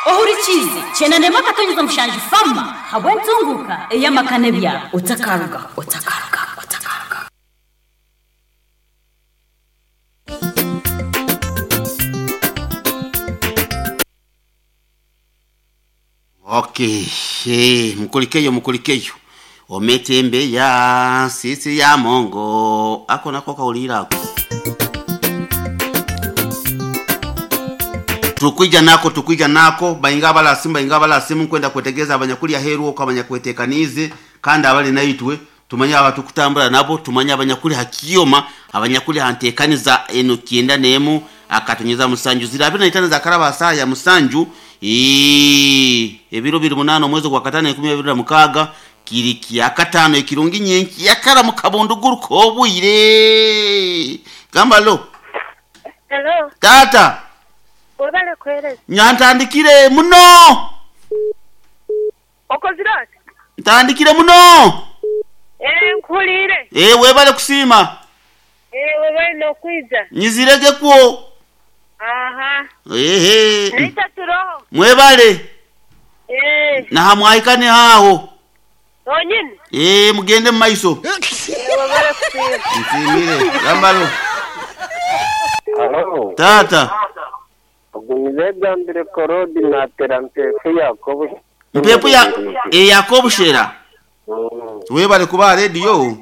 Ohurikiize kyenda n'emwe akatonyeza mushanju fama habw'entunguka ey'amaka n'ebyaro. Otakaruga, otakaruga, otakaruga. Okay, hey, mukulikeyo mukulikeyo ometembeya sisi ya mongo ako nako kaulirako tukwija nako tukwija nako bainga balasimu bainga balasimu nkwenda kwetegeza abanyakulya heru oko abanyakwetekanize kandi abali naitwe tumanye abatukutambula nabo tumanye abanyakuli hakioma abanyakuli hantekaniza eno kyenda nemu akatonyeza musanju zira abiri na itano za karaba saa ya musanju. Ii, ebiro biri munano omwezi gwa katano enkumi abiri na mukaga kiri kya katano ekirungi nyenki yakara mu kabunduguru k'obwire gamba lo. Hello, tata webale kuhereza. Nyantandikire muno. Okozire oti? Ntandikire muno. Eh, nkuhulire. Eh, webale kusiima. Eh, webale n'okwiza. Nyizirege kwo. Aha. Ehe. Naita turoho. Mwebale. Eh, nahamwahikane haho. onyini. Eh, mugende mu maiso. Eh, webale kusiima. Nsiimire gambalo. Halo, tata. ogumize gambire korodi natera mpefu Yakobo. Mpepu ya eyakobushera. Webale kuba radio.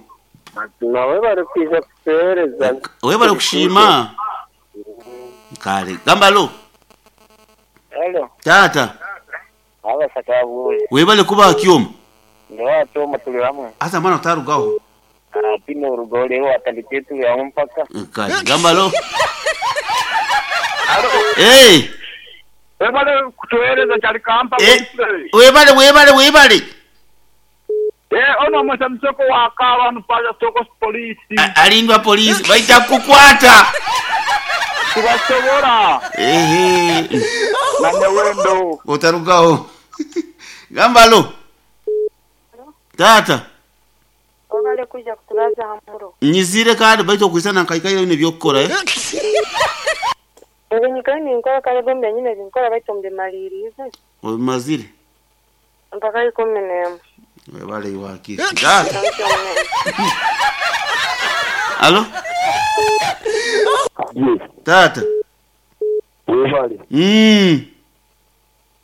Nawe bari kwiza kutuhereza. Webale kushima. Kale gambalo. Halo, Tata. abasaka bwe. Webale kuba kyoma. Ndo tuli hamwe. Asa mwana utarugaho. Ati urugore watandike tuli hamwe mpaka. Kale gambalo. Eh, Webale kutuhereza kyali kampa. eh, webale webale webale. Eh, ono mwesa msoko wa kawa nupaya soko polisi. Alindwa polisi baita kukwata. Tubasobora. Ehe. Na wendo. Otarugaho. Gambalo. Tata. Webale kuja kutulaza hamuro. Nyizire kandi baita okwisana nkaikaire ne byokukora eh. Ebinyikali ninkora kale gombe nyine binkora baitu mbimalirize. Obimazire. Mpaka 11. Webale iwakiri. Tata. Alo? Yes, Tata. webale.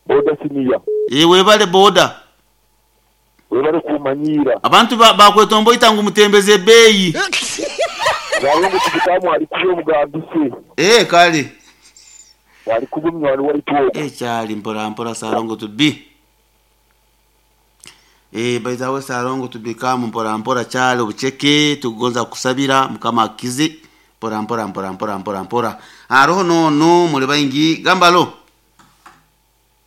Boda siniya. Eh, webale boda. Webale kumanyira. Abantu bakwetomboita ngu mutembeze ebbeeyi. Zalungu tukitamu ali kuba omugambise. Eh, kale. Ali kuba omunywani waitu ogwo. Eh, kyali mpora mpora salongo tubi. Eh, baizawe salongo tubikamu mpora mpora kyali obucheke tugonza kusabira mukama akize mpora mpora mpora mpora mpora mpora. Aroho no no muri baingi gambalo.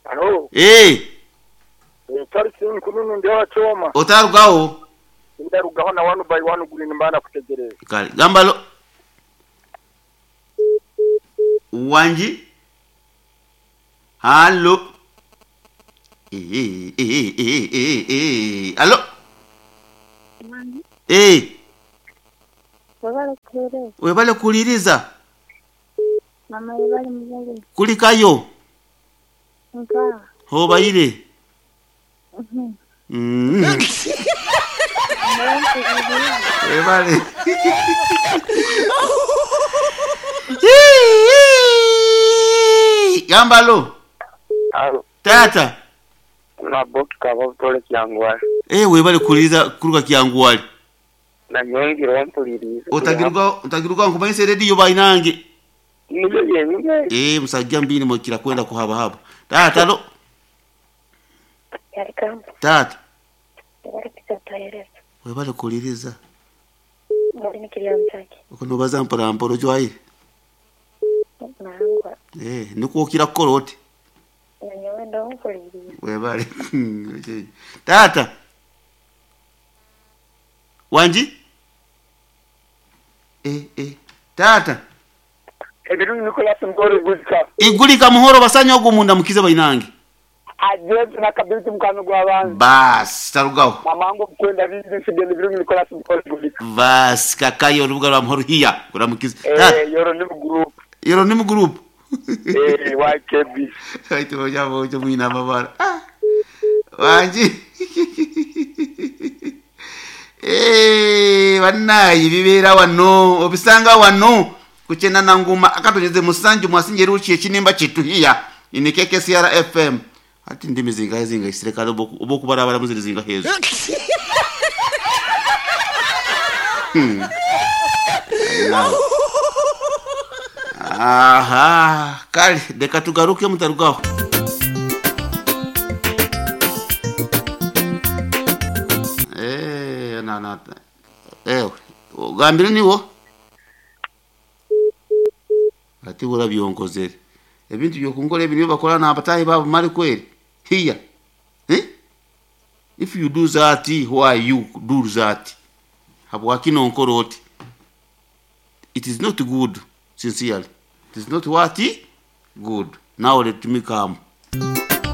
Halo, Eh, Charles Nkununu ndi wachoma. otarugaho. Ndarugaho na 1 by 1 green mbana kutegereza. Kale gambalo. Wanji. Halo. Eh, eh, eh, eh, eh. Halo. Eh, Webale kuhereza. webale kuliriza. Mama webale muzali. Kulikayo. Nka. Hobaire. Webale. Gambalo. Halo, Tata. maboki kaba butole kyangwali. Eh, webale kuliriza kuruka kyanguwali. Na nyongera ompuliriza. Otagiruka otagiruka nkumanyise radio bainange. Nibyo byenyine. Eh, musajja mbini mukira kwenda kuhaba haba. Tata lo. Yali kamba. Tata. Webale kuja kutuhereza. Webale kuliriza. Muri nikiriya mutaki. Okunobaza mpora mpora ojwaire. Nangwa. Eh, nikuokira kukola oti. Na nyowe ndo nkuliriza. Webale. Tata. Wanji? Eh, eh. Tata. Ebirungi Nicholas Ngori Guzika. Igulika muhoro basanya ogwo munda mukize bainange. Ajetu na kabiti mukano gwa bantu. Bas, tarugaho. Mamango kwenda vingi sigende birungi Nicholas Ngori Guzika. Bas, kakayo orubuga rwa muhoro hiya. Kuramukize. Tata, Eh, yoro ni group. yoro ni mu group. Eh, YKB. Baitu oja mwine amabara. Ah, wangi. Eh, bannaye bibeera wano obisanga wano kukyenda nguma akatonyeze musanju mwasinje ruki ekinimba kituhiya ini KKCR FM ati ndimi zingahe zingaisire kale obokubarabara muziri zingahe ezo. Nawe. Aha, kale reka tugaruke mutarugaho. Eh, na na. Ewe, ugambire niwo. Ati urabyonkozere. Ebintu byokunkola ebi nibyo bakora n'abatahi babo mali kweri. Hiya. Eh? If you do that, why you do that? Habwaki nonkora oti? It is not good, sincerely. It is not what? Good. Now let me come.